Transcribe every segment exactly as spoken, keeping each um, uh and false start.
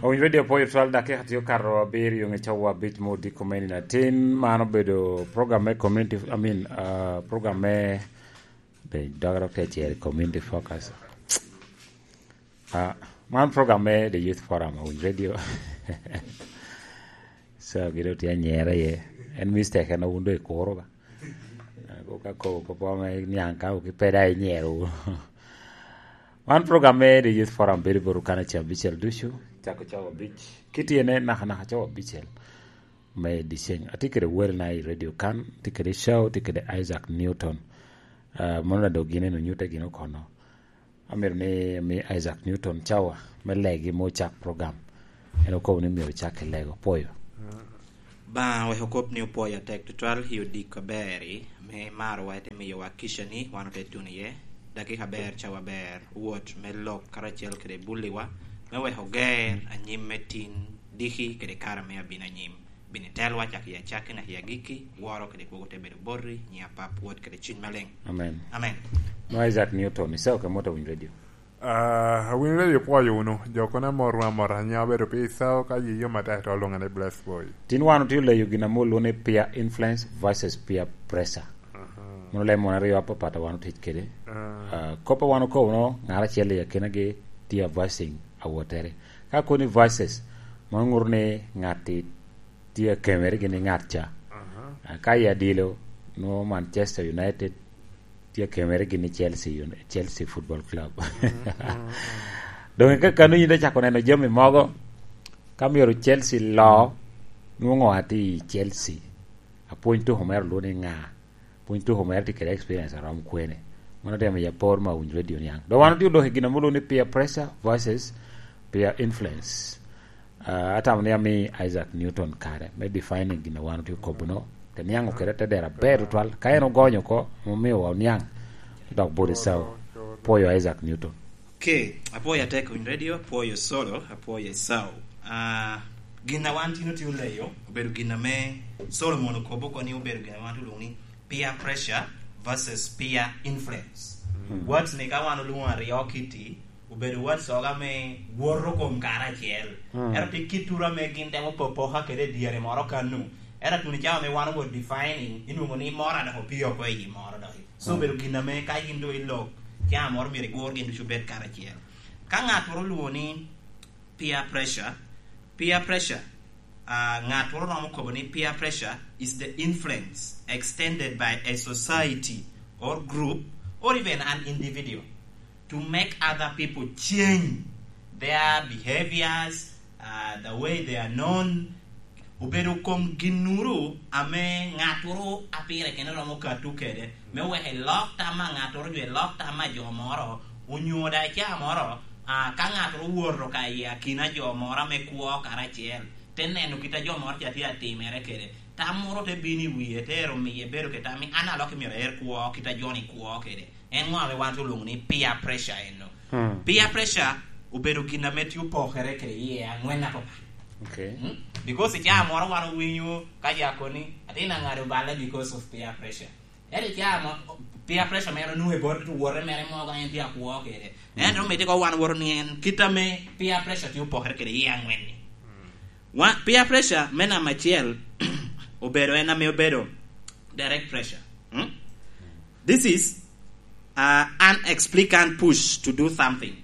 Owinyo Radio Poyo twelve dakika tye okato abiriyo nge cawa abic me odiko me nino atin. Man obedo program me community, I mean, uh, program me, de, dogere te cere community focus. Ah, man program me The Youth Forum, Owinyo Radio. So, gin otye anyere ye. En mistake en wun do ikuro ba. Ah, ko ka ko, ko po me niang ka, ki peda inyero. Wan program me The Youth Forum bedo bot okana ca abicel ducu, cako cawa abic. Kitye ne naka naka cawa abicel me dyeceng. Atye kede welna i radio kan, tye kede show, tye kede Isaac Newton. Ah, mono na dog gin en onyutte gin okono. Amito ni mi Isaac Newton cawa me legi me ocak program. En okobo ni myero ocak ki lego. Poyo. Ba wek okop ni opoyo atek tutwal i odiko aber-ri, me marowa ite miyowa kica ni wan ote tuno iye. Dakika aber, cawa aber, wot me lok karacel kede bulliwa, me wek oger anyim me tin diki kede kare me abino anyim. Bin itelwa cak i acakki naka i agikki, woro kede kwogo te bedo boti, nyiŋ Apap, Wod kede Cuny Maleng. Amen. Amen. No Isaac Newton, iseo ke mot Owinyo Radio. Ah, Owinyo Radio pwoyo wunu, jo kono amorwu amora, nyiŋa obedo pi Isao ka yi yom atek to olwoŋa ni Blessed Boy. Tin wan otye oleyo gin ame olwoŋo ni peer influence versus peer pressure. Aha. Mono leb mon aryo apapat a wan otic kede. Ah. Ah, kop a wan okobo no, ŋat acel i akinagi tye advising awottere. Ka koni versus, mano ŋuto ni ŋat-ti tye akemere gin i ŋat ca. Aha. Ah, ka i adilo, nwoŋo Manchester United tye akemere gin i Chelsea, Chelsea Football Club. Mhm, mhm, mhm. Doŋ i kakano yin te cako neno jami mogo, ka myero Chelsea lo, nwoŋo atye i Chelsea. Apwony tuko mere olwoŋo ni ŋa? Pwony tuko mere tye kede experience a rom kwene? Mano te miyo apor me Owinyo Radio niaŋ. Dok wan otye odok i gin ame olwoŋo ni peer pressure versus peer influence. Ah, atamo ni ami Isaac Newton kare me defining gin a wan otye okobo-no, te niaŋ okede te dero aber tutwal. Ka en ogonyo oko, omio wa oniaŋ, dok bot Esau. Pwoyo Isaac Newton. Okay, apwoyo atek Owinyo Radio, apwoyo Solo, apwoyo Esau. Ah, gin a wan tin otye oleyo, obedo gin ame Solomon okobo oko ni obedo gin a wan otye olwoŋo ni peer pressure versus peer influence. Mm. Words ni ka wan olwoŋo aryo kiti, obedo words oga me woto kom kare acel. Mm. Ento tye kit tura ame gin temo popoka kede i dyere moro kanu. Ento tuno cawa ame wan owo defining, inwoŋo ni moro a dok opio oko i moro dok. So, mm, obedo gin ame ka yin doŋ ilok, cawa moro myero igur gin ducu bed kare acel. Ka ŋat moro olwoŋo ni peer pressure, peer pressure, ah, ŋat moro romo kobo ni peer pressure is the influence extended by a society or group or even an individual to make other people change their behaviors, uh, the way they are known. Obedo kom ginnuru ame ŋattoro a pire kene romo kato kede, me weko elok tam a ŋattoro, jo elok tam a jo moro, onyo daŋ i caa moro, ah, ka ŋattoro woto ka i akina jo moro ame kwo karacel, te neno kit a jo moro ca tye atimere kede, tam moro te bino i wie, te ero miye bedo kede tam ni, "An alokke myero aer kwo kit a jo-ni kwo kede." En ŋo ame wan te olwoŋo ni peer pressure eno? Hmm. Peer pressure obedo gin ame tye opokere kede iye angwen apapat. Okay. Hmm? Because i caa moro wan owinyo ka jo akoni, "Atin aŋado balle because of peer pressure." Ento i caa mo, peer pressure mere onwoŋo i bot wote mere mogo en tye akwo kede. Hmm. Ento mito ko wan woto ni en kit ame peer pressure tye opokere kede iye angwen-ni. Hmm. Wa-, peer pressure me namba acel obedo en ame obedo direct pressure. Hmm? This is, uh, an explicant push to do something.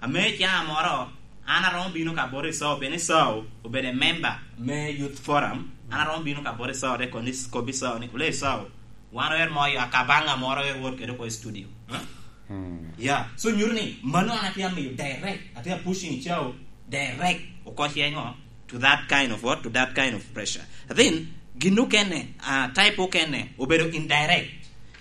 Ame caa moro, an aromo bino ka bot Esau, pien Esau obedo a member me Youth Forum. An aromo bino ka bot Esau, te koni, kobbi Esau ni, "Ole Esau, wan oer moyo akabaŋa moro, oer wot kede oko i studio." Huh? Hmm. Yeah. So, nyuto ni mano an atye amiyo direct, atye a pushing Esau direct, oko ce ŋo, to that kind of what? To that kind of pressure. Then, gin okene, ah, type okene, obedo indirect.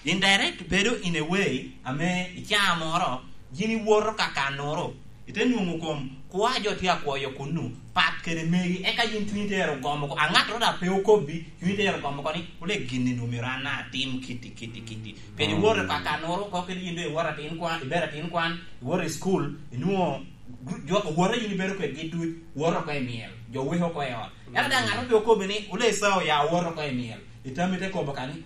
Indirect bedo in a way ame i caa moro yin iwoto ka kannoro, ite nwoŋo kom kwo a jo tye akwoyo kunnu pat kede megi, eka yin cunyi te ero gomo oko. A ŋattoro daŋ pe okobbi, cunyi te ero gomo oko ni, "Ole gin-ni nwoŋo myero an atim kiti, kiti, kiti." Pien iwoto ka kannoro oko kede yin doŋ iwoto atin kwan, ibedo atin kwan, iwoto i cukul, inwoŋo gru-, jo, owote yin ibedo kwedgi duc, woto oko i myel, jo weko oko i ot. Ento daŋ ŋattoro pe okobbi ni, "Ole Esau, ya wot oko i myel." Itami te kobo ka ni,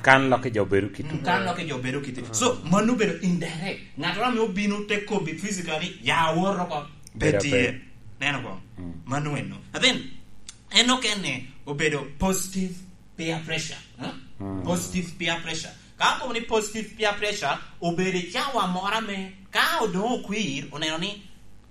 Kan lok i jo bedo kite. Mm, kan lok i jo bedo kite. Mm. So, mano obedo indirect. Ŋattoro ame obino te kobbi physically, "Ya wot oko." Pe tye. Neno ko? Mm. Mano eno. And then, en okene obedo positive peer pressure. Huh? Mm. Positive peer pressure. Ka akobo ni positive peer pressure, obedo i cawa moro ame ka odoŋ okwir, oneno ni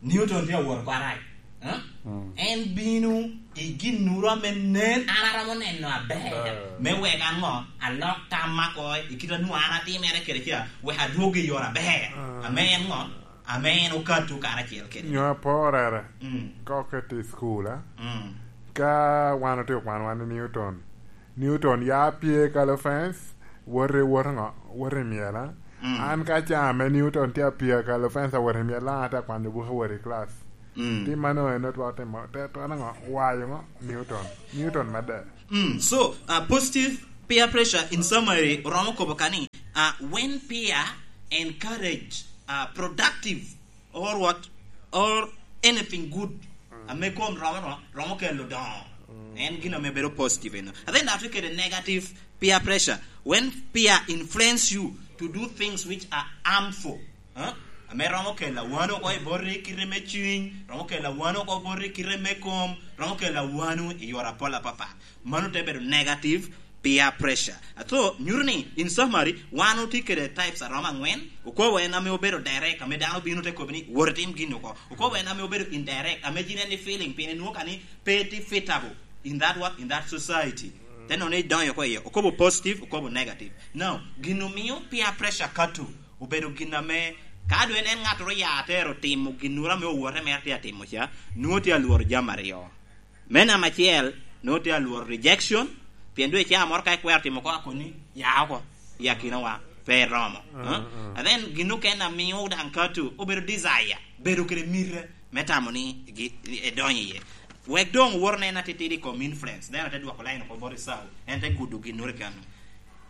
Newton tye awot oko arac. Huh? Mm. En bino i ginnoro ame nen, an aromo neno aber, mm, me wek an ŋo, alok tamma oko i kit a nwoŋo an atimere kede ca, wek adwog i yore aber, mm, ame en ŋo, ame en okato karacel kede. Nyo aporere. Mm. Ka okete i cukul, a? Mm. Ka wan otye okwanowa ni Newton, Newton ya pye kalo fence, wot i wot ŋo? Wot i myel, a? Mm. An ka ca ame Newton tye apye kalo fence awot i myel, an atye akwanyo buke awot i class. Mm. Tim mano en otwero timo, te twero ŋo? Wayo ŋo? Newton. Newton medde. Mm, so, uh, positive peer pressure in summary, oromo kobo ka ni, uh, when peer encourage, uh, productive or what, or anything good, mm, ame kom romo, romo, romo kelo doŋo. Mm. En gin ame bedo positive eno. And then that we get a negative peer pressure. When peer influence you to do things which are harmful, huh? Ame romo kelo awano oko i boti kite me cuny, romo kelo awano oko boti kite me kom, romo kelo awano i yore apol apapat. Mano te bedo negative peer pressure. Ato, nyuto ni, in summary, wan otye kede types a romo angwen. Okobo en ame obedo direct, ame dano bino te kobo ni, "Wot itim gin oko." Okobo en ame obedo indirect, ame gin en ni feeling, pien inwoŋo ka ni pe itye fitable in that what, in that society. Te nono ni idonyo oko iye. Okobo positive, okobo negative. Now, gin omio peer pressure kato obedo gin ame, ka dwe en ŋattoro ya atero timo ginnoro ame owote mere tye atimo ca, nwoŋo tye alworo jami aryo. Me namba acel, nwoŋo tye alworo rejection, pien dwe icaa moro ka ikwero timo oko akoni, "Ya oko, i akinawa, pe iromo." Mm, huh? Mm. And then gin okene amio daŋ kato obedo desire, bedo kede mite me tamo ni gi-, edonyo iye. Wek doŋ wot en atitidi i kom influence, then ate dwoko line oko bot Esau, en te gudo ginnoro i kano.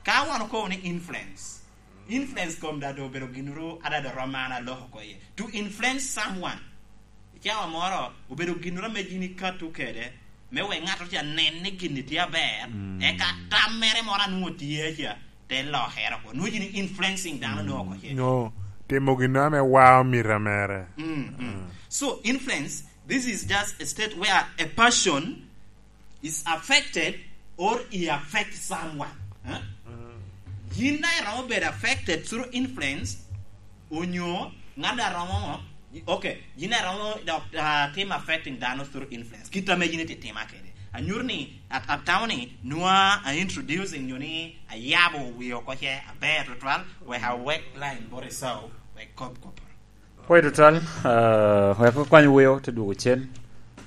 Ka wan okobo ni influence, influence kom daŋ doŋ obedo ginnoro adada romo an aloko oko iye. To influence someone, i cawa moro obedo ginnoro ame yin ikato kede, me wek ŋattoro ca nen ni gin-ni tye aber, mm, eka tam mere moro a nwoŋo tye ca, te lokere oko. Nwoŋo yin influencing dano, mm, nwoŋo oko ce. Nyo timo gin ame wao mita mere. Mm, mm. Mm. So, influence, this is just a state where a person is affected or he affect someone. Huh? Mm. Yin daŋ iromo bedo affected through influence, onyo ŋat a romo ŋo? Okay, yin a romo dok, ah, tim affecting dano through influence. Kit ame yin ititima kede. Anyuto ni, at-, atamo ni, nwa a introducing nyo ni ayabo wi oko ce aber tutwal, wek awek line bot Esau, wek kop koporo. Pwoyo tutwal, ah, wek okwany weo te dwogo cen,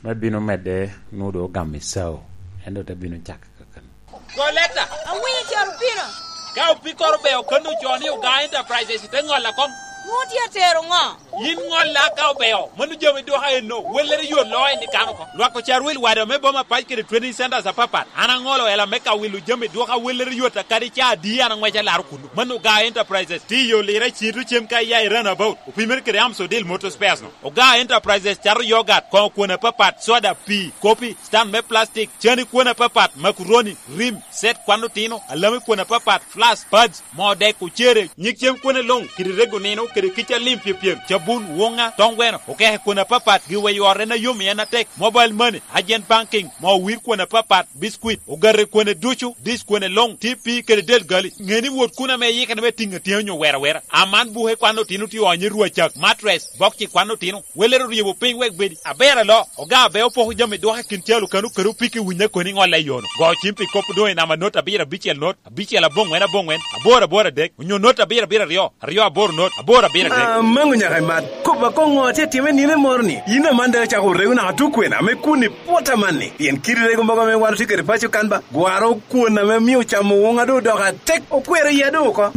me bino medde nwoŋo doŋ ogamo Esau, en doŋ te bino cako kakano. Go leta. Awinyo caro pino. Ka opikoro be okanno co ni Oga Enterprises te ŋolla kom. Nwoŋo tye atero ŋo? Yin ŋolla ka obeo, mano jami dwoka enno, wellere yot loo en ikano oko. Lwak ocar wil wade me boma pac kede training centers apapat. An aŋolo ela me ka wilo jami dwoka wellere yot akadi ca adi an aŋweco alaro kunnu. Mano Oga Enterprises, tiyo lira cito cem ka iya i runabout, opimere kede Amsodil Motor Spares no. Oga Enterprises cato yogat, koŋo kwon apapat, soda, pii, kopi, stand me plastic, cani kwon apapat, makuroni, rim, set kwan otino, alami kwon apapat, flask, pads, moo dek, ocere, nyig cem kwone luŋ, kede rego nino, kede kica lim pyepyem, cabun, woŋa, toŋ gweno, okeke kwon apapat, giwa i ot en a yom i en atek, mobile money, agent banking, moo wir kwon apapat, biscuit, ogate kwone ducu, dish kwone luŋ, T P kede del gali. Ŋe ni wot kun ame iyikere me tiŋ atyeni onyo wero awera. Aman buke kwan otino tye onyo i rwacak, mattress, bokci kwan otino. Welere oryebo piny wek bedi aber alo. Oga abe opoko jami dwoke kin calo kano kede opiki winyo koni ŋolle i yono. Go cim pi kop doŋ i namba not abiro abicel not, abicel aboŋwen aboŋwen, aboro aboro adek, onyo not abiro abiro aryo, aryo aboro not, aboro abiro adek. Amango nyaka i mat. Kop akoŋo atye time nino moro ni? Yin aman daŋ acako rego naka tukwena me kun i pwot amanni. Pien kit rego mogo ame wan otye kede paco kan ba, gwaro kwon ame mio camo woŋa doŋ odoko atek, okwero iya doŋ oko.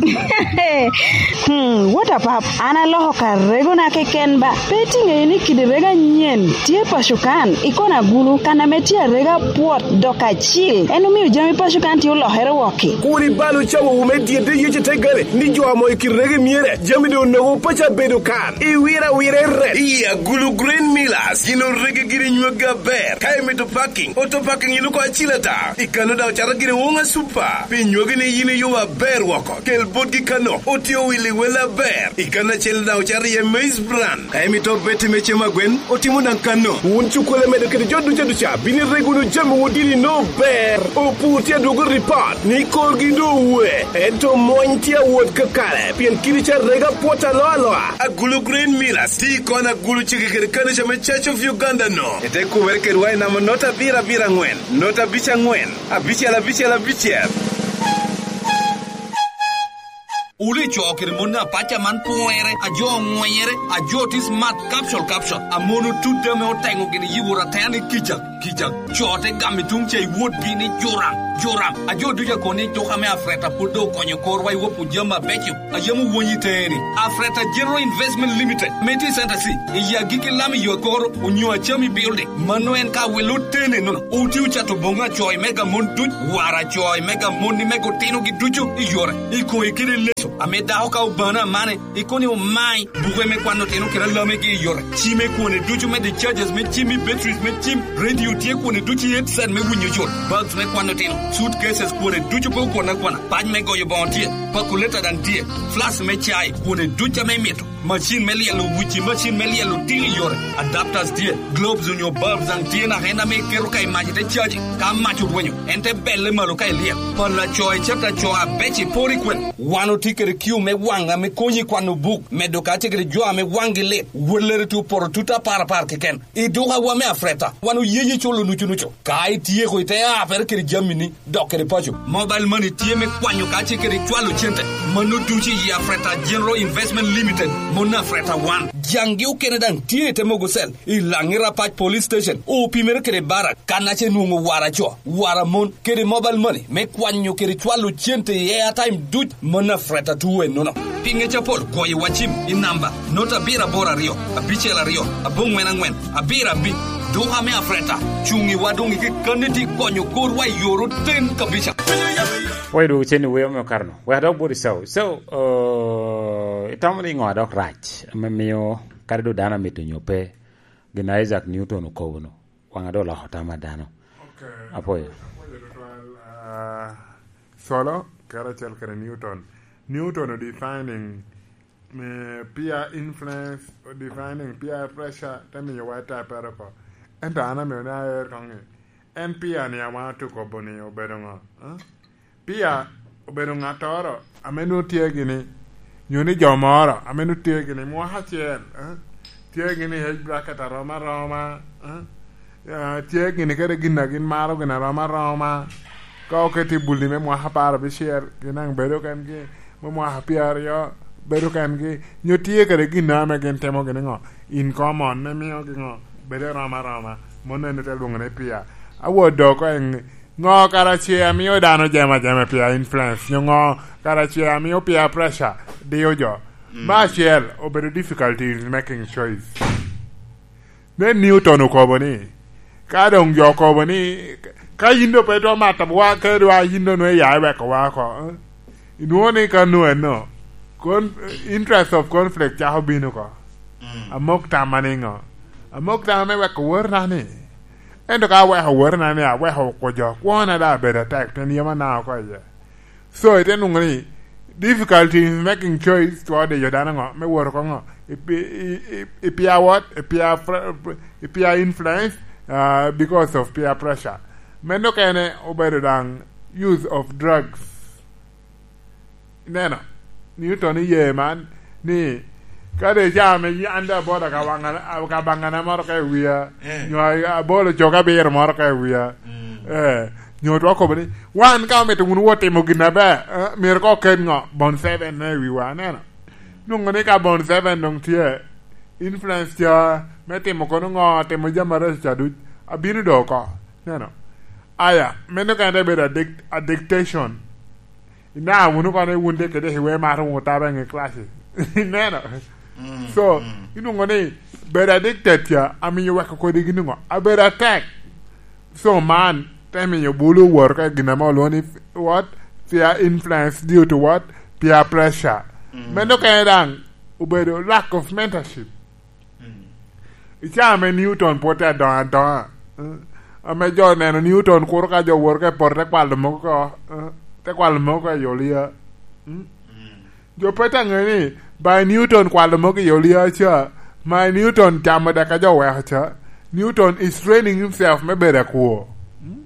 Hmm, what a pap. An aloko ka regona keken ba. Pe itiŋeyo ni kidi rego anyen tye paco kan, i kona gulu, kan ame tye arega pwot dok acil. En omio jami paco kan tye olokere wokki. Kur ibal ocawowu me dyedde Yecu te gale, ni jo amo i kit rego emyere, jami doŋ onogo paco abedo kan. Iwiro awira i rep. I Agulu Grain Millers, gin orege giri nywaggi aber. Ka imito parking, auto parking yin oko acil ata. I kano daŋ ocato giri Wonga Super. Pi nywaggi ni yin iyubo aber woko. Kel botgi kano, otye owilo i wel aber. I kano acel daŋ ocato iye Maize Bran. Ka imito beti me cem agwen, otimo daŋ kano. Wun cukulo medo kede jo duca duca, bino irego wunu jami wun dini no ber. Opur tye adwogo ripot ni korgi doŋ owe. Ento mony tye awot kakare, pien kidi ca rega pwot aloa aloa. Agulu Grain Millers, ti kon agulu cege kede kanica me Church of Uganda no. Ete kubere kedwa i namba not abiro abiro angwen, not abic angwen, abicel abicel abicel. Wuli co kede mon apaca man pwere, a jo oŋwenyere, a jo ti smart capsule capsule, a mon otut ame oteŋo gini yibo ratene kica, kica. Co te gam i tuŋ ca i wotgi ni juram, juram. A jo ducu akoni tuk ame Afreta pwod doŋ okonyo korwa i wopwu jami abeco, a yam owonyi teni. Afreta General Investment Limited, me ti Center C, i agikki lam i yo akoro, onyo acami building. Mano en ka welo tene nono. Oti ocato boŋo acoy mega mon duc, wara acoy mega mon ni mega otino gi ducu i yore. I koŋ ikede leco, ame dako ka obano amane, ikoni omai, buke me kwano tino kede alamegi i yore. Cime kwone ducu me the charges me cim i batteries me cim, radio tye kwone ducu i headset me winyo yot, bags me kwano tino, suitcases kwone ducu pe okwana kwana, pac me goyo boŋo tye, pakuleta daŋ tye, flask me cai kwone ducu ame imito. Macin me lyelo wuci, macin me lyelo tiko i yore, adapters tye, globes onyo bulbs daŋ tye naka en ame iketo ka i mac ite caji. Ka mac orwenyo, en te belle malo ka ilyel. Pala co i cata co abeco iporo i kwene. Wan otye kede kiu me waŋ ame konyi i kwano buk, medo ka tye kede jo ame waŋgi lit, wellere tye opoto tut apar apar keken. I dukawa me Afreta, wan oyeyi culo nucu nucu. Ka ityeko ite apere kede jamini, dok kede paco. Mobile money tye me kwanyo ka tye kede cwalo cente. Mano ducu i Afreta General Investment Limited, mon Afreta One. Jaŋgi okene daŋ tye i te mogo cell, i Laŋi Rapac Police Station, opimere kede barak, kan ace nwoŋo wara co, wara mon, kede mobile money, me kwanyo kede cwalo cente i airtime duc, mon Afreta two ennono. Pi ŋec apol, goyo wa cim i namba, not abiro aboro aryo, abicel aryo, aboŋwen aŋwen, abiro abic, duka me Afreta, cuŋ i wa doŋ i kekkanni ti konyo korwa i yor oten kabisa. Pwoyo dwogo cen i wer me okaro-nu. Wek adok bot Ecau. Ecau, eh, itamo ni ŋo a dok rac ame mio kadi doŋ dano amito nyo pe, gin a Isaac Newton okobo-nu, waŋa doŋ oloko tam a dano? Ok. Apwoyo. Apwoyo tutwal, ah, Solo, karacel kede Newton. Newton o defining, eh, peer influence, o defining peer pressure, te miyo wa type oko. Ento an amio ni aer koŋ ni, en peer ni a waŋ atuko bo ni obedo ŋo? Eh? Peer obedo ŋattoro ame nwoŋo tye gini, nyo ni jo moro ame nwoŋo tye gini mwaka acel, eh? Tye gini age bracket arom aroma, eh? Ah, tye gini kede gin a gin maro gin arom aroma. Ka oketi i bulli me mwaka apar abicel, gin daŋ bedo kengi, me mwaka pyeraryo, bedo kengi. Nyo tye kede gin ame gin timo gini ŋo? In common, ne miogi ŋo? Bedo arom aroma. Mano en ote lwoŋo ni peer. Awot dok oko en, ŋo kara ce amio dano jema jema peer influence? Nyo ŋo kara ce amio peer pressure dio jo? Mm. Me acel, obedo difficulty in making choice. Ne Newton okobo ni, ka doŋ jo okobo ni, ka yin doŋ pe itwero mato wa, ka dwa yin doŋ nwoŋo iya iweko wa oko, eh? Inwoŋo ni ka nwoŋo enno, con-, interest of conflict cako bino oko. Mm. Amok tamma niŋo? Amok tamma me weko wotona ni. Ento ka aweko wotona ni, aweko oko jo, kwona daŋ abedo atek, pien yam anaka oko iye. So, ite nwoŋo ni, difficulty in making choice twero diyo dano ŋo, me wot oko ŋo, i pi-, i, i, i peer what, i peer fr-, i peer influence, uh, because of peer pressure. Meno kene obedo daŋ use of drugs. Ineno, Newton iye man, ni, ka de ca ame an de abolo ka waŋa-, ka baŋana moro ka i wia, eh, nyo a-, abolo cok abiro moro ka i wia, mm, eh, nyo twero kobo ni, wan ka omito wun wot timo gin aber, eh, myero ka oket ŋo? Bon seven me i wiwa, aneno. Nwoŋo ni ka bon seven doŋ tye, influence ca me timo kono ŋo, timo jami arece ca duc, abino do oko, ineno. Aya, meno kene te bedo addict-, addictation. Ineno wunu kono ni wun de kede iwe maro wunu taba i ŋe classes. Ineno? Mm, so, mm. Inwoŋo ni bedo addicted ca, amiyo weko kodi gin ŋo? Abedo atek. So, man, te miyo bulu woro ka gin ame olwoŋo ni, what? Peer influence due to what? Peer pressure. Mm. Meno kene daŋ, obedo lack of mentorship. I caa ame Newton pwod tye adoŋo adoŋa, eh, ame jo oneno Newton kuro ka jo woro ka i poto te kwalo mogo oko, eh, te kwalo mogo oko i olia. Mm? Jo pe te ŋe ni by Newton kwalo mogo i olia ca, my Newton camo dek a jo weko ca, Newton is training himself me bedo akwo. Mm?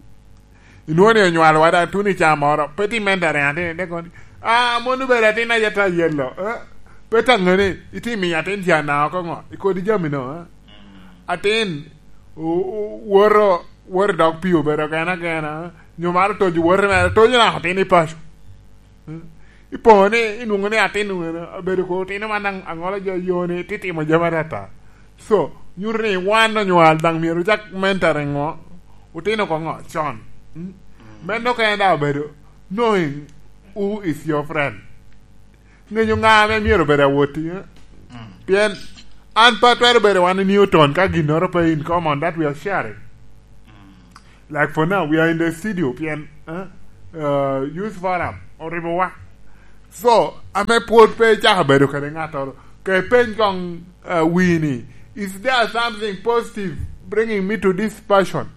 Inwoŋo ni onywalowa daŋ tuno i caa moro, pe ti mentoring atin, ite kono ni, "Ah, mon obedo atin ayeta yelo, eh? Pe taŋe ni, iti miyo atin ca na oko ŋo, i kodi jami no, eh? Atin, o-, o-, woto, woto i dog pii obedo gena gena, eh? Nyo maro tojo wote mere, tojo naka atin i paco." Eh? Ipoŋo ni, inwoŋo ni atin wene, obedo ko otino man aŋ-, aŋolo jo yoni, ti timo jami atata. So, nyuto ni wan onywal daŋ myero ocak mentoring ŋo, otino ko ŋo, con. Mm? Meno kene daŋ obedo knowing who is your friend. Ŋeyo ŋa ame myero obedo awotti, eh? Pien an pe atwero bedo wan i Newton ka ginnoro pe in common that we are sharing. Like for now, we are in the studio, pien, eh, uh, Youth Forum oribowa. So, ame pwod pe icako bedo kede ŋattoro, ke peny koŋ, uh, wini, is there something positive bringing me to this passion?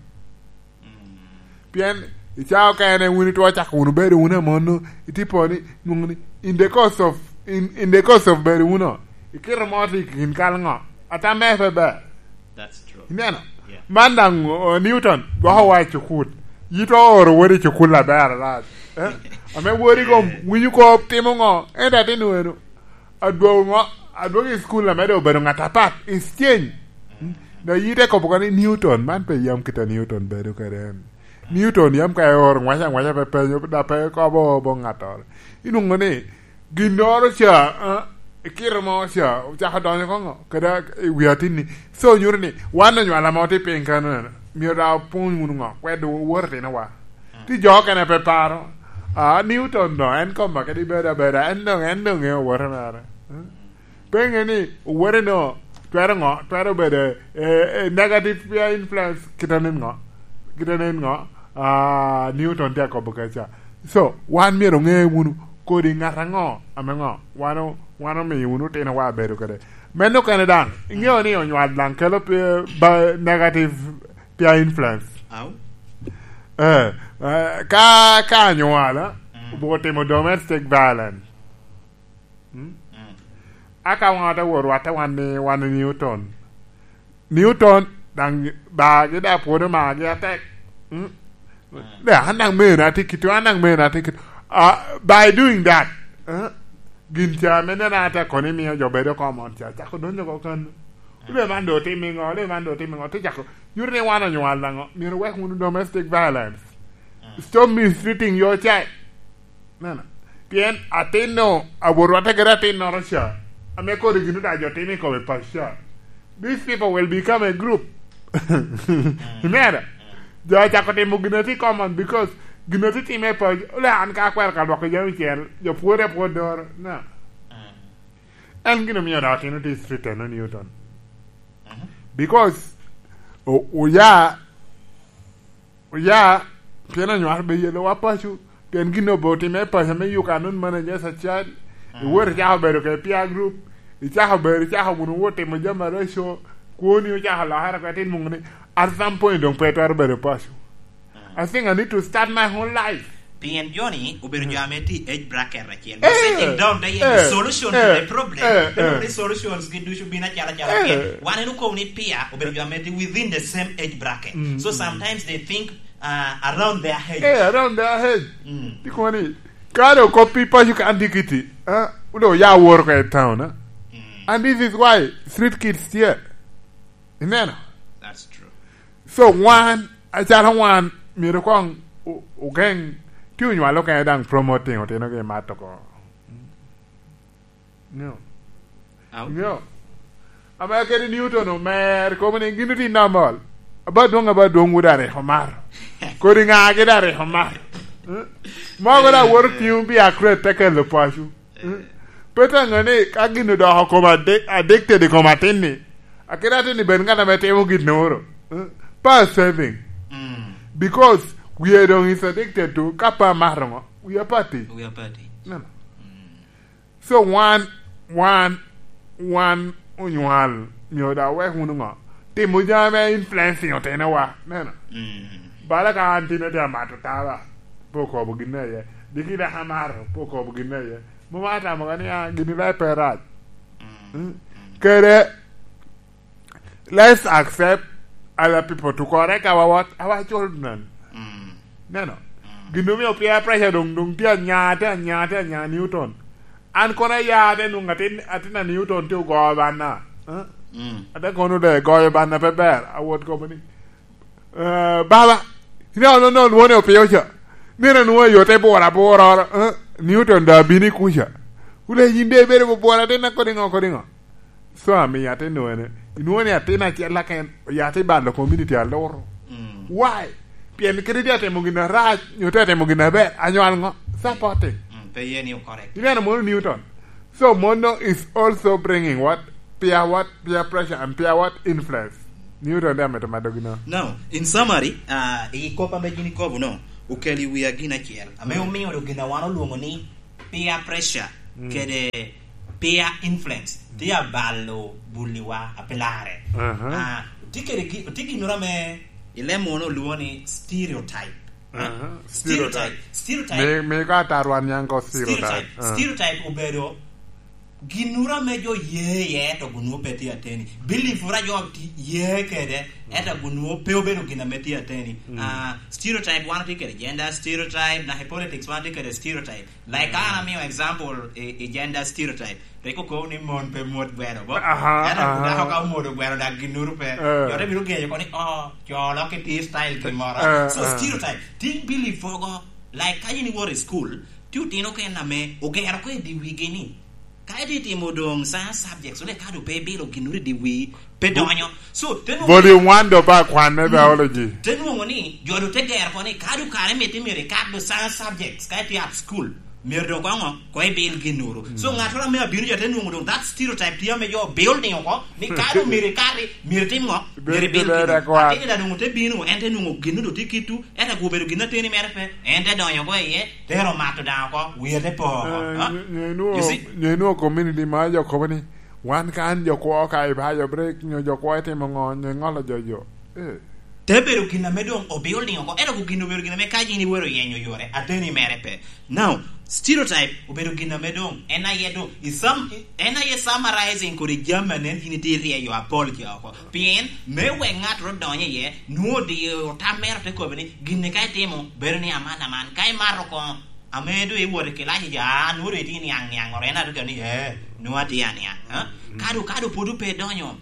Pien i caa okene wun itwo cako wunu bedo wunu amono, itipo ni, nwoŋo ni, in the course of, in, in the course of bedo wunu, ikito mo tye i kin kal ŋo? Ata mere pe ber. That's true. Ineno? Yeah. Man daŋ, o, Newton, gwoko wa i cukul. Yitwa ooro wodi i cukul aber alac. Eh? Ame wodi kom, winyo kop timo ŋo? Ento atin wenu. Adwogo ŋo? Adwogo i cukul ame doŋ obedo ŋat apat. Is change. Mm. Doŋ yite kobo koni Newton, man pe yam kit a Newton bedo kede en. Newton yam ka eoro ŋwaca ŋwaca pe penyo, da pe kobo bo ŋattoro. Inwoŋo ni, ginnoro ca, ah, i kite mo ca, ocako donyo koŋo, kede i wi atinni. So, nyuto ni, wan onywalo ame otye piny kano, myero daŋ opwony wunu ŋo, kwed owoto tinowa. Ti jo okene pe paro, ah, Newton no, en koma kede bedo abeda, en doŋ, en doŋ ŋeo owote mere. Hmm? Pe ŋe ni, owote no, twero ŋo, twero bedo, eh, eh, negative peer influence, kite nen ŋo, kite nen ŋo, ah, Newton tye akobo kaca. So, wan myero oŋe wunu kodi ŋat aŋo ame ŋo, wan o-, wan omiyo wunu otinowa abedo kede. Meno kene daŋ, iŋeo ni onywal daŋ kelo pe-, ba-, negative peer influence. Au? Eh, eh, ka, ka anywala, mm, obuko timo domestic violence. Mm? Mm. Aka wan ote wot watte wan ni, wan i Newton. Newton, daŋ bagi daŋ pwod omagi atek. Mm? Mm. De, an daŋ mena tye kit, an daŋ mena tye kit. Ah, by doing that, eh, gin ca ame nena ate kono imio jo bedo common ca, cako donyo oko kan. Mm. Ole man do timo ŋo, ole man do timo ŋo, te cako. Nyuto ni wan onywal daŋo, myero wek wunu domestic violence. Mm. Stop mistreating your child. Nena. Pien atin-nu, awot watte kede atinnoro ca, ame kodi gin odac jo timo i kome paco ca. These people will become a group. Imera? Jo acako timo gin ati common because gin ati time paco. Ole an ka akwero ka lwoko jami cel, jo pwode apwod doro. Na. En gin omio dok atin oti street eno Newton. Because o-, oya Oya, pien onywal be yelowa paco, pien gin obe otime paco me you cannot manage as a child. Mm. Iwot icako bedo kede peer group, icako bedo, icako wunu wot timo jami areco, kwoni ocako lokere oko, itin muŋo ni, at some point doŋ pe itwero bedo paco. Mm. I think I need to start my whole life. Pien jo-ni obedo jo ame tye i age bracket acel. Eh, sitting down there, eh, the solution to eh, the problem. Eh, eh. Ineno ni solutions gi ducu bino acalo acalo eh, pien wan en okobo ni peer obedo jo ame tye within the same age bracket. Mm, so mm, sometimes they think, uh, around their age. Eh, around their age. Mm. Tye kono ni, ka do kop pi paco ka an dikiti, ah, wule oya woro ka i town, ah. Mm. And this is why street kids here. Ineno? That's true. So wan, acalo wan, myero koŋ o-, ogeŋ, ti onywalo kene daŋ promoting otinogi i mat oko. Nyo. Au. Nyo. Ame kede Newton omer, kobo ni gin oti normal. Aba dwoŋ, aba dwoŋ wu daŋ rik omaro. Kodi ŋagi daŋ rik omaro. Eh? Mogo daŋ woto tiŋo pi akrete te kelo paco. Eh? Pe te ŋe ni ka gin odoko kom addi-, addicted i kom atin-ni, akite atin-ni bed ŋat ame timo ginnoro. Eh? Pa saving. Mm. Because we are doŋ is addicted to, ka pa mato ŋo, we are party. We are party. Neno. Mm. So wan, wan, wan onywal, myero dok wek wunu ŋo? Timo jami me influencing otinowa. Neno? Mm. Bala ka an tin atye amato taba, pe okobo gin aye. Diki dok amato, pe okobo gin aye. Mom atamo ka ni, ah, gini daŋ pe rac. Mm. Mm. Kede, let's accept other people to correct our what? Our children. Mm. Neno? Mm. Gin omio peer pressure doŋ, doŋ tye anya, tye anya, tye anya Newton. An kono aya ate nwoŋo atin, atin a Newton tye ogoyo banna. Eh? Mm. Ate kono doŋ egoyo banna pe ber, awot kobo ni, eh, "Baba, ine ono no lwone opio ca. Nino nwoŋo yo te bura bura oro, eh? Newton doŋ abino i kuca." Wule yin de ibedo bubura atin a kodi ŋo, kodi ŋo? So, amiyo atin nwene. Inwoŋo ni atin acel aken, ya te balo community aloro. Mm. Why? Pien kadi tye atimo gin arac, nyo tye atimo gin aber, anywal ŋo? Supporting. Mm, pe ye ni o correct. Ineno mono Newton? So, mono is also bringing what? Peer what? Peer pressure and peer what? Influence. Newton de amito mado gino. Now, in summary, uh, i kop ame gin ikobo no, okelo i wia gin acel. Ame omio do gin a wan olwongo ni peer pressure, mm, kede peer influence tye abalo buliwa a pi lare. Aha. Ah, tye kede gi-, tye ginnoro ame i leb munu olwongo ni stereotype. Ah, aha. Stereotype. Stereotype. Stereotype. Mi, mi ka atarwa niaŋ ko stereotype. Stereotype. Ah. Stereotype obedo ginnoro ame jo ye iye, to gun nwoŋo pe tye ateni. Belief ora jo ti-, ye kede, ento gun nwoŋo pe obedo gin ame tye ateni. Mm. Ah, stereotype wan otye kede gender stereotype, naka i politics wan otye kede stereotype. Like, ka an amio example i, i gender stereotype, rik okobo ni mon pe mwod gweno, bo? Aha, ento aha. Dako ka omwodo gweno, dak ginnoro pe. Eh. Jo te bino genyo oko ni, "Oh, co lok ki tye style gin moro." Eh, so, eh. Stereotype, tye belief mogo. Like, ka in iwoto i school, tye otino kene ame ogero ko i di wigi ni, ka itye timo doŋ science subjects, wek ka doŋ pe ibilo ginnoro i di wii, pe donyo. So, te nwoŋo Volume one do pa kwan me biology. Te nwoŋo ni, jo do te gero ko ni, ka do kare mito myero ikat do science subjects, ka itye at school, myero do koŋo, ko ibil ginnoro. So, ŋattoro ame abino ja te nwoŋo doŋ that stereotype tye ame jo building oko, ni ka do myero ikati, myero itim ŋo? Myero ibil ginnoro. Ateni da doŋ te bino, en te nwoŋo gin do tye kittu, ento ka obedo gin ateni mere pe, en te donyo oko iye, te ero mato daŋ oko, wie te po oko. Eh, nyo, nyo inwoŋo, you see? Nyo inwoŋo community ma jo kobo ni, "Wan kan jo kwo ka i bayo break, nyo jo kwo itimo ŋo, nyo iŋolo jo jo." Eh. Te bedo gin ame doŋ obuilding oko, ento gin obedo gin ame ka yin iwero yenyo yore, ateni mere pe. Now, stereotype obedo gin ame doŋ, en aye doŋ, i sam-, en aye summarizing kodi jami anen yin itye iryeyo apol ca oko. Pien, me wek ŋat ro donyo iye, nwoŋo odiyo tam mere te kobo ni, "Gin-ni ka itimo, bedo ni aman aman." Ka imato koŋo, ame doŋ iwot i kilac ica, a, nwoŋo doŋ itye niaŋ niaŋ, oro en aduga ni, "Ee, nwoŋo atye aniaŋ." Ha? Ka doŋ, ka doŋ pwod pe idonyo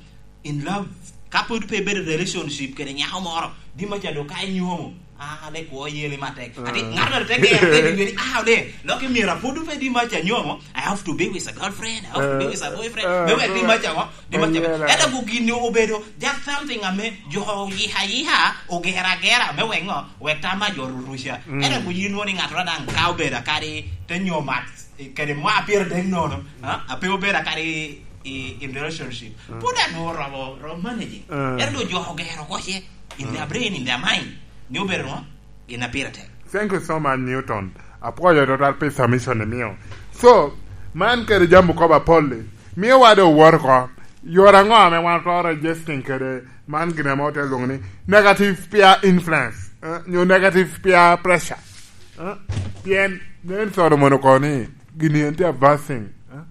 in love, ka pwod pe ibedo i relationship kede nyako moro, di maca doŋ ka inyomo, a, le kwo yeli matek. Ati, ah, ŋat ŋat te gero, te bibi ni, a, le, lok i myero apwod pe di maca nyomo, I have to be with a girlfriend, I have to be with a boyfriend. Ah, me wek di maca ŋo? Di maca. Ento gu gin obedo just something ame jo yika yika, ogero agera, me wek ŋo? Wek tam a jo ruruca. Mm. Ento gu yin nwoŋo ni ŋat daŋ ka obedo akadi te nyomo at, kede mwa pire dek nono, ah, ape obedo akadi i, in relationship. Mm. Pwod anwoŋo romo, romo managing. Mm. Ento doŋ jo ogero oko ce, in their brain, in their mind, ni obedo ŋo? Gin a pire tek. Thank you so much, Newton. Apwoyo tutwal pi submission imio. So, man kede jami okobo apol-li. Mio wade owot oko. Yore aŋo ame wan otwero adjusting kede man gin ame ote lwoŋo ni negative peer influence, eh, nyo negative peer pressure? Eh, pien nen Solomon okobo ni gini en tye a bad thing, eh?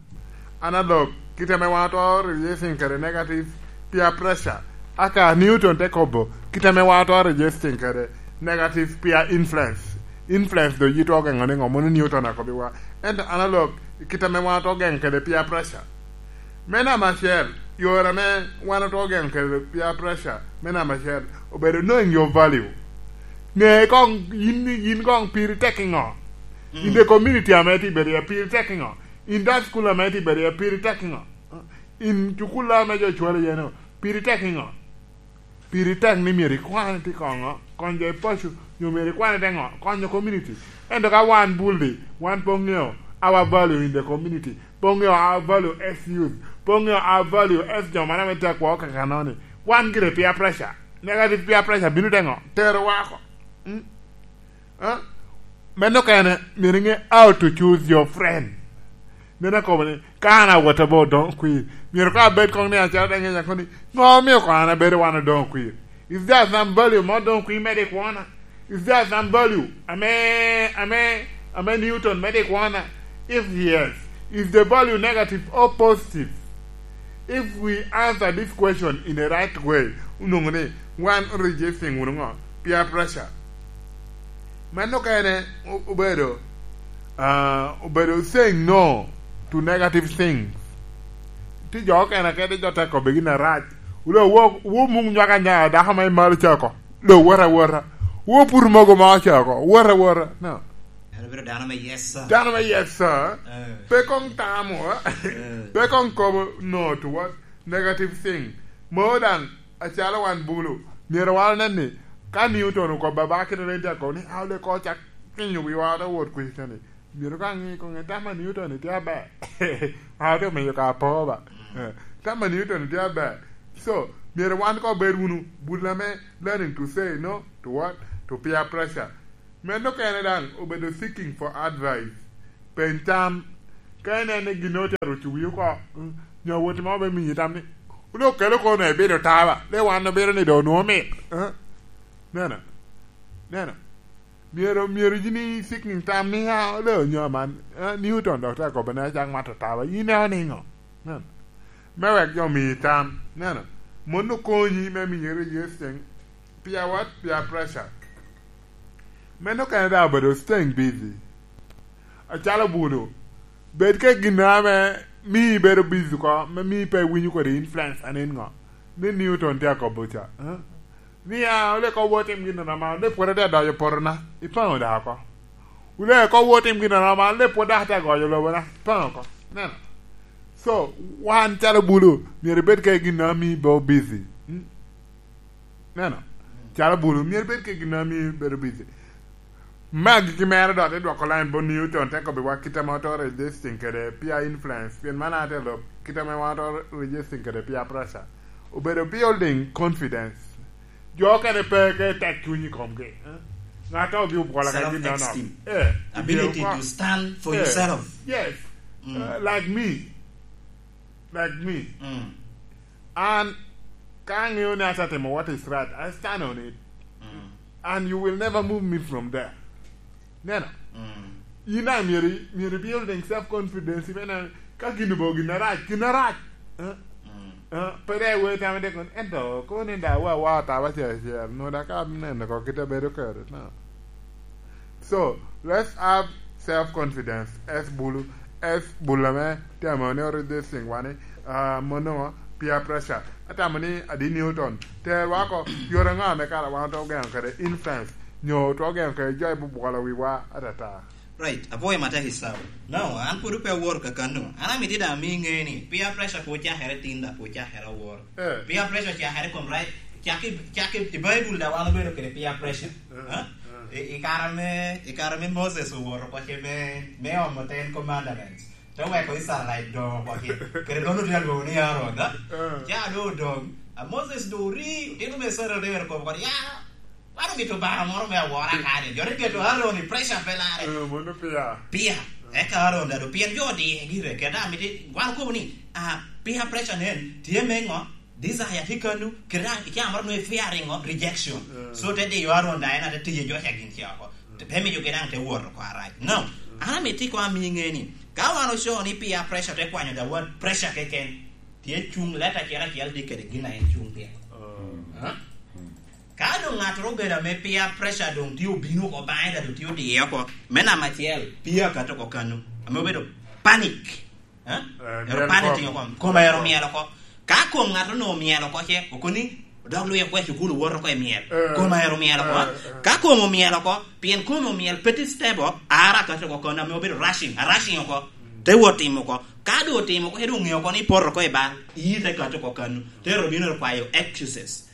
Analog, kit ame wan otwero resisting kede negative peer pressure, aka Newton te kobo, kit ame wan otwero resisting kede negative peer influence. Influence do yitwa ogeŋo ni ŋo? Mono Newton akobbiwa. Ento analog, kit ame wan otwero geŋo kede peer pressure. Me namba acel, yore ame wan otwero geŋo kede peer pressure, me namba acel, obedo knowing your value. Ŋe koŋ yin, yin koŋ piri tek i ŋo? Mm. In the community ame itye bedo iye, piri tek i ŋo? In that school ame itye bedo iye, piri tek i ŋo? In cukul ame jo cwalo iye no, piri tek i ŋo? Piri tek ni myero ikwan ite koŋo, kony jo i paco, nyo myero ikwan ite ŋo? Konyo community. Ento ka wan bul-li, wan pe oŋeo our value in the community, pe oŋeo our value as youth, pe oŋeo our value as jo man ame tye akwo kakanoni, wan gire peer pressure, negative peer pressure bino te ŋo? Terowa oko. Mm? Ah? Meno kene, myero iŋe how to choose your friend. Meno akobo ni, ka an awot aba odoŋo kwir, myero ka abed koŋ ni acalo daŋ ŋeca koŋ ni, ŋo omio koŋ an abedo wan odoŋo kwir? Is there some value me odoŋo kwir me dik wona? Is there some value ame, ame, ame Newton me dik wona? If yes, is the value negative or positive? If we answer this question in a right way, onwoŋo ni wan resisting wunu ŋo? Peer pressure. Meno okene o-, obedo, ah, obedo saying no to negative things. Tye jo okene kede jo te kobbe gin arac. Wule wo, wo mung nywaka nya dako ma imalo cako. Lo wota wota. Wo pur mogo ma ocako. Wota wota. No. En obedo dano me yes, sir. Dano me yes, sir. Eh. Pe kong tamo, eh? Eh. Pe kong kobo no to what? Negative thing. Mo daŋ, acalo wan bulu, myero wan onen ni, ka Newton okobba ba kite nen tye akobo ni, "Aole ko cak kinyo wiwa ata wot kwica ni." Myero ka ŋi koŋe, "Tam a Newton tye aber." A ote omiyo ka apo ba. Eh, tam a Newton tye aber. So, myero wan ko bed wunu bul ame learning to say no to what? To peer pressure. Meno okene daŋ obedo seeking for advice. Peny tam. Ka ineno ni gin otero ocuwi oko, mm, nyo woti mo be miyi tam ni, "Wun okelo kono ibido taba, le wan obedo ni doŋ onwoŋo mit." Eh? Neno. Neno. Myero, myero yin i seeking tam ni, "Ah, ole onyo man, eh, Newton dok te akobo ni acak mato taba, yin eo niŋo?" Neno. Me wek jo omiyi tam. Neno. Mon okonyi me miyi resisting. Peer what? Peer pressure. Meno kene daŋ obedo staying busy. Acalo bulu, bed ka gin ame mii ibedo busy oko, me mii pe iwinyo kodi influence anin ŋo? Ni Newton tye akobo ca, eh? Ni, "Ah, ole ko wo tim gin eno ma, ole pwod atye adonyo potona, ipaŋo daŋ oko. Ole ko wo tim gin eno ma, ole pwod dok atye agoyo lobona, ipaŋo oko." Neno? So, wan calo bulu, myero ibed ka gin ame mii ibedo busy. Mm? Neno? Calo bulu, myero ibed ka gin ame mii ibedo busy. Me agikki mere dok te dwoko line bot Newton, te kobbiwa kit ame oto resisting kede peer influence, pien man ate lok kit ame wan oto resisting kede peer pressure. Obedo building confidence. Jo okene pe ke tek cuny i komgi, eh? Ŋat ogi obwola ka gin nono. Self-esteem. Eh, ability to stand for yourself. Yes. Mm. Uh, like me. Like me. Mm. An, ka aŋeo ni asa timo what is right, I stand on it. Mm. And you will never move me from there. Neno? Mm. In daŋ myero, myero building self-confidence, me neno, ka gin obedo gin arac, gin arac. Eh? Mm. Eh, pe dek iwee tamo dek kono, ento kono ni daŋ wa, wa otaba acel acel, nwoŋo daŋ ka neno oko kite bedo kede, no. So, let's have self-confidence, as bulu, as bulu ame temo ni oridhi i ciŋwa ni, ah, mono peer pressure. Atamo ni adi Newton, terwa oko, yore ŋo ame kara wan otwero geno kede influence, nyo otwero geno kede jo a bubwolo wiwa atata? Right, apwoyo matek i sawa. No, an pwod pe awor kakano. An amito daŋ ami ŋe ni peer pressure pe ocakere tin, dok pe ocakere awor. Eh. Peer pressure ocakere kom right, cak i, cak i, i Baibul daŋ wan obedo kede peer pressure. Eh, eh? Eh. I, i kare me, i kare me Moses owoto oko ce me, me omo Ten Commandments. Te weko Israelite doŋ oko ce. Kede doŋ otye alwoŋo ni Aaron, eh? Eh. Ca doŋ odoŋ. A Moses doŋ ori, otino me Israel te wero kop oko ni, "Ya, wan omito Obaŋa moro me awora kani." Jo te keto Aaron i pressure pe larre. Eh, mono peer. Peer. Eka Aaron daŋ doŋ pien jo odiye gire. Kede amito, wan okobo ni, ah, peer pressure nen, tye me ŋo? Desire tye kanu, kede daŋ i caa moro nwoŋo i fearing of rejection. Mm. So te diyo Aaron daŋ en ate tiyo i jo ca gin ca oko. Te, te miyo gin daŋ te wot oko arac. No, an amito ikoŋ ami ŋe ni, ka wan oco ni peer pressure te kwanyo the word pressure keken, tye cuŋ leta acel acel tye kede gin a en cuŋ pire. Mm. Ha? Ka doŋ ŋattoro obedo ame peer pressure doŋ tye obino oko baŋe, ka doŋ tye odiye oko, me namba acel, peer akato oko kanu, ame obedo panic. Eh? Eh, ero myel panic oko. Tye oko, kome ero myel oko. Ka kom ŋattoro onoŋo myel oko ce, okoni, odok lwye oko i cukul, owoto oko i myel. Eh. Kome ero myel oko. Eh, eh. Ka kom omyel oko, pien kom omyel, pe tye stable, ara akato oko kano, ame obedo rushing, a rushing oko. Mm. Te wot timo oko. Ka doŋ otimo oko, ero oŋeo oko ni poto oko i bal, iyi te kato oko kano. Te ero bino ero kwayo excuses.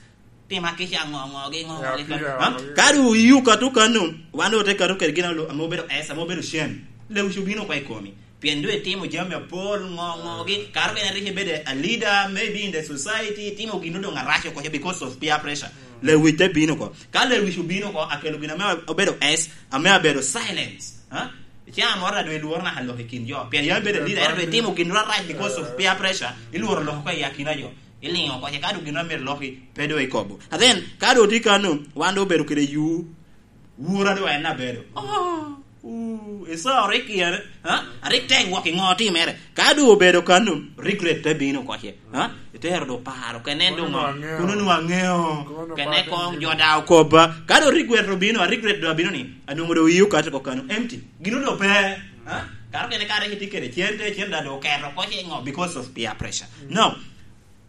Tima kica ŋo, ŋo gi, ŋo, ŋo gi. Ya, kano. Ya, ha? Ya. Ka doŋ oyi okato kano, wan doŋ ote kato kede gin ame obedo S, ame obedo shame. Lewic obino oko i komi. Pien doŋ itimo jami apol, ŋo, ŋo gi. Kara kene rik ibedo a leader, maybe in the society, itimo gin doŋ arac oko because of peer pressure. Mm. Lewic te bino oko. Ka lewic obino oko, akelo gin ame obedo S, ame abedo silence. Ha? Ca moro a doŋ ilworo naka lok i kin jo. Pien yam ibedo leader, ento doŋ itimo gin arac because of peer pressure. Ilworo lok oko i akina jo. Iliŋo oko, ce ka doŋ gin amito lok i, pe doŋ ikobo. And then, ka doŋ otye kano, wan doŋ obedo kede yu. Wura doŋ en abedo. Oh, uh, Esau rik yere, ha? Rik tek wok i ŋo otimere. Ka doŋ obedo kano, regret te bino oko ce. Ha? Itero doŋ paro, kene doŋ, kono nwa ŋeo. Kono nwa ŋeo. Kono nwa kene ŋeo. Kong jo da okobba. Ka doŋ regret obino, a regret doŋ abino ni, anwoŋo doŋ ii okato oko kano, empty. Gino doŋ pe. Ha? Karo kene ka rik itye kede cente, cente da doŋ oketo oko ce ŋo because of peer pressure. Now,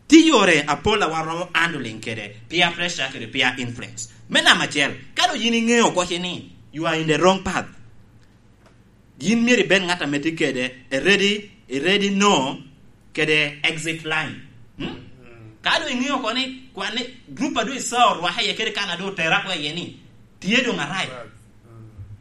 tye yore apol a wan romo handling kede peer pressure kede peer influence. Me namba acel, ka doŋ yin iŋeo oko ce ni, you are in the wrong path. Yin myero ibed ŋat ame tye kede a ready, a ready no kede exit line. Hmm? Ka doŋ iŋeo oko ni kwan ni group a doŋ Esau orwaka iye kede kan a doŋ otera oko iye ni tye doŋ arac.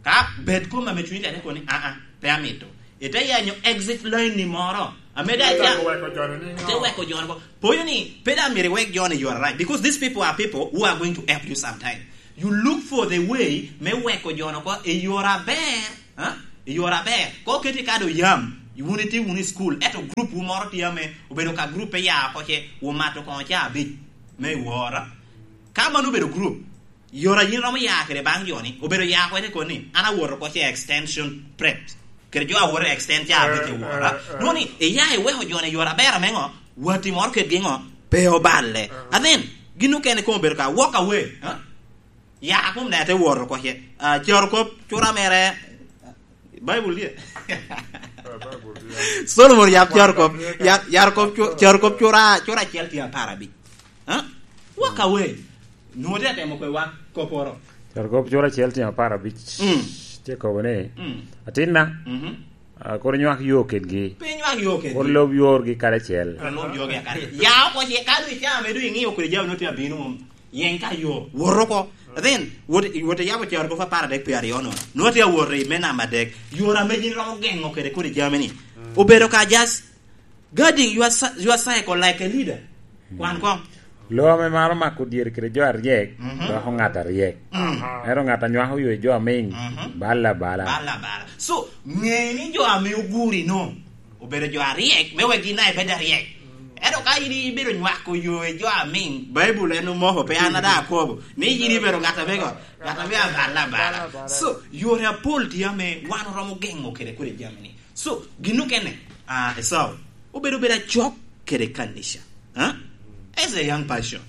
Ka bed kom ame cunyi tek oko ni, "Aa, pe amito." Ite yanyo exit line ni moro. Ame da Ite ca weko joni ni ite ŋo? Weko joni ko. Poyo ni, pe da myero iwek joni, you are right. Because these people are people who are going to help you sometime. You look for the way me weko joni oko i yore aber. Ha? I yore aber. Ko keti ka do yam, wun itye wunu i school, eto group wu moro tye ame obedo ka group pe ya oko ce, wumato kono ca abic me i wora. Ka mano obedo group, yore a yin romo ya kede baŋ joni, obedo ya oko ite koni, an awoto oko ce extension prep. Kede jo awoto extend ca abic i wora. Eh, eh, eh. Nwoŋo ni, iya iweko joni i yore aber ame ŋo, watti moro kedgi ŋo, pe oballe. Eh. And then, gin okene koŋ obedo ka walk away. Ha? Ya, a kom ne te woro oko ce. Ah, carokop cura mere, Baibul tye. Ah, Baibul tye. Solomon yab carokop, yar, yarokop cu-, carokop cura, cura acel tye apar abic. Ha? Walk away. Nwoŋo tye atemo kwe wa koporo. Carokop cura acel tye apar abic. Mm. Tye kobo ni, mm, "Atinna, mhm, ah, kur inywak yo kedgi. Pe inywak yo kedgi. Kur lob yorgi karacel." Kur lob yorgi karacel. Ya oko ce, ka du icamo, du ing'iyo kede jami nwoŋo tye abino mom. Yeny ka yo, wot oko. Then, wot, wot iyabo carokop apar adek pye aryo no. Nwoŋo tye awot i me namba adek. Yore ame yin romo geŋo kede kodi jami ni. Mm. Obedo ka just guarding your cy-, your cycle like a leader. Mm. Kwan koŋ. Lo ame maro mako dyere kede jo aryek, mhm, doko ŋat aryek. Mm. Aha. Ento ŋat a nywako yo i jo amiŋ, mhm, balla bala. Balla bala. So, ŋe ni jo ame oguri no, obedo jo aryek, me wek gin daŋ ibed aryek. Ento ka in ibedo nywako yo i jo amiŋ, Baibul en omoko, pe an ada akobo, ni yin ibedo ŋat ame go, ŋat ame abala abala. So, yore apol tye ame wan oromo geŋo kede kodi jami ni. So, gin okene, ah, Esau, obedo bedo acok kede kanica. Huh? As a young person,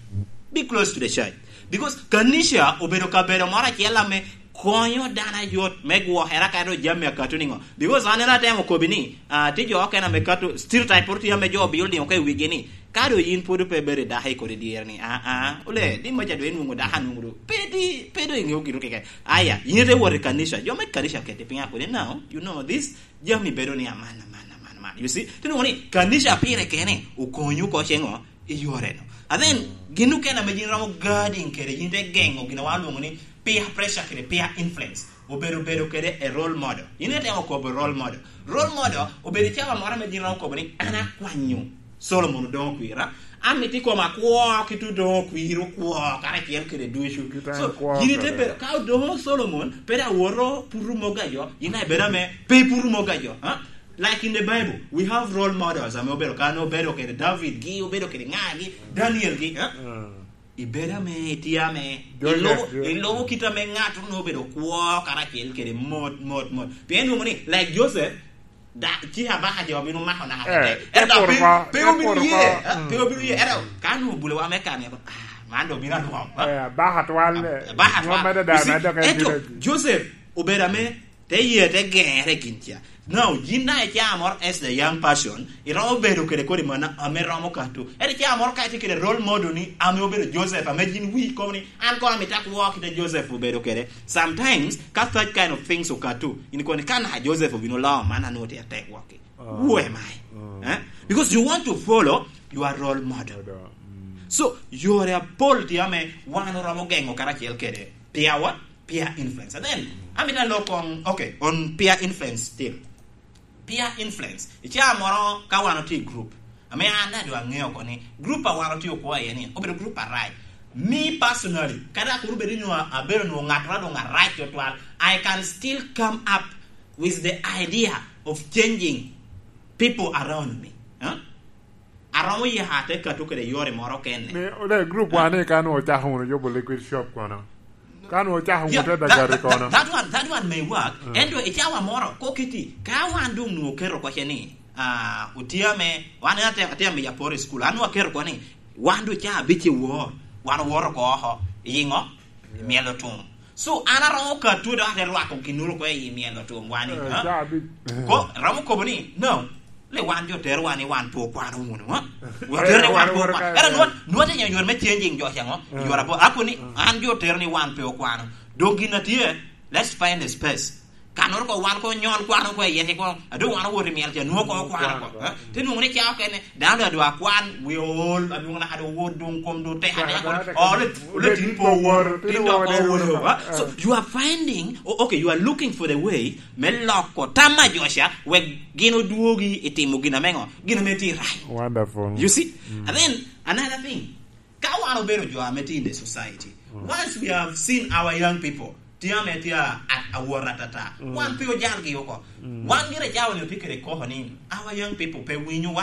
be close to the church. Because kanica obedo kabedo moro acel ame konyo dano ayot me gwokere ka ento jami akato niŋo. Because an en atemo kobi ni, ah, tye jo okene ame kato, stereotype pwod tye ame jo building oko i wigi ni, ka do yin pwod pe bedo i dako i kodi dyere ni, ah, ah, ole, di maca do inwoŋo dako anwoŋo do, pe di, pe do iŋeo gino keke. Aya, yin ite wot i kanica, jo me kanica oketi piny akodi, "No, you know this, jami bedo ni aman, aman, aman, aman." You see? Tinwoŋo ni kanica pire kene okonyo oko ceŋo i yore no. And then, gin okene ame yin romo guarding kede, yin te geŋo gin a wan olwoŋo ni peer pressure kede peer influence. Obedo bedo kede a role model. Yin itemo kobo role model. Role model obedo cawa moro ame yin romo kobo ni, "An akwanyo Solomon odoŋo kwira. Amito i koma kwo ki tu doŋo kwir okwo karacel kede ducu." So, yin ite bedo, ka odoŋo Solomon, pe da woto putu mogo a jo, yin a ibedo ame pe iputu mogo a jo. Ha? Like in the Bible, we have role models. Ame obedo kan, obedo kede David gi, obedo kede ŋa gi, Daniel gi, eh? Mm. Ibedo ame itye ame ilubo, ilubo kit ame ŋat onongo obedo kwo karacel kede mot, mot, mot. Pien nwoŋo ni, like Joseph, da, ci abaka jo obino mako naka kede. Eh, ento pe, pe obino ye, eh, pe obino ye. Ento ka nwoŋo obulo wa me kan, ah, man do obino alwom, eh? Eh, abaka twal, eh, abaka twal. You see, ento Joseph obedo ame te ye te gere gin ca. Now, yin daŋ icaa moro as the young person, iromo bedo kede kodi mana ame romo kato. Ento icaa moro ka itye kede role model ni ame obedo Joseph, ame yin wii kobo ni, "An kono amito akwo kite Joseph obedo kede." Sometimes, ka such kind of things okato, in kono ni, "Ka naka Joseph obino loo man, an onwoŋo tye atek wok." Who am I? Eh? Because you want to follow your role model. So, yore apol tye ame wan oromo geŋo karacel kede peer what? Peer influence. And then, amito alok on, okay, on peer influence still. Peer influence. I caa moro ka wan otye i group, ame an daŋ doŋ aŋeo oko ni group a wan otye okwo iye ni, obedo group arac. Me personally, kadi akuru bed ni nwoŋo abedo nwoŋo ŋattoro doŋ arac tutwal, I can still come up with the idea of changing people around me. Huh? Aromo ya ate kato kede yore moro kene. Ni, ole group wan ni ka nwo ocako wunu yubo liquid shop kono. Ka nwo ocako wunu te dagari kono. That one, that one may work. Ento i cawa moro, kokiti, ka wan dong nwo keto koce ni, ah, otia me, wan ate, ate me ya poro i school, an nwo aketo ko ni, wan dong ca abic i wor, wan owoto ko oko, i ngo? I mielo tum. So, an aromo kato dok ate rwako ginuru ko i mielo tum, wan ni, eh, huh? Ca abic. Ko, romo kobo ni, no, le wan jo terowa ni wan pe okwano wunu, ha? Watero ni wan pe okwano. Era nwa, nwa te nyo yore me changing jo ceŋo? Yore apo, ako ni, an jo tero ni wan pe okwano. Dok gin a tye, let's find a space. Kanoro ko wan ko nyon kwano ko iye ko, ado wan owoto i miel ca, nwo ko okwano ko. Ha? Te nwoŋo ni ca okene, dano da dwa kwan, we all, adwoŋ na kado wot dong kom do teka ne ko. Oh, let, let it forward. Tin dok owoto, ha? So, you are finding, oh, okay, you are looking for the way, me loko tam a jo ca, wek gin odwogi i timo gin ame ŋo? Gin ame tye right. Wonderful. You see? And then, another thing, ka wan obedo jo ame tye in the society, once we have seen our young people, tye ame tye a, a, awot atata, wan pe ojalgi oko. Wan gire cawa ni otye kede koko ni, our young people pe winyo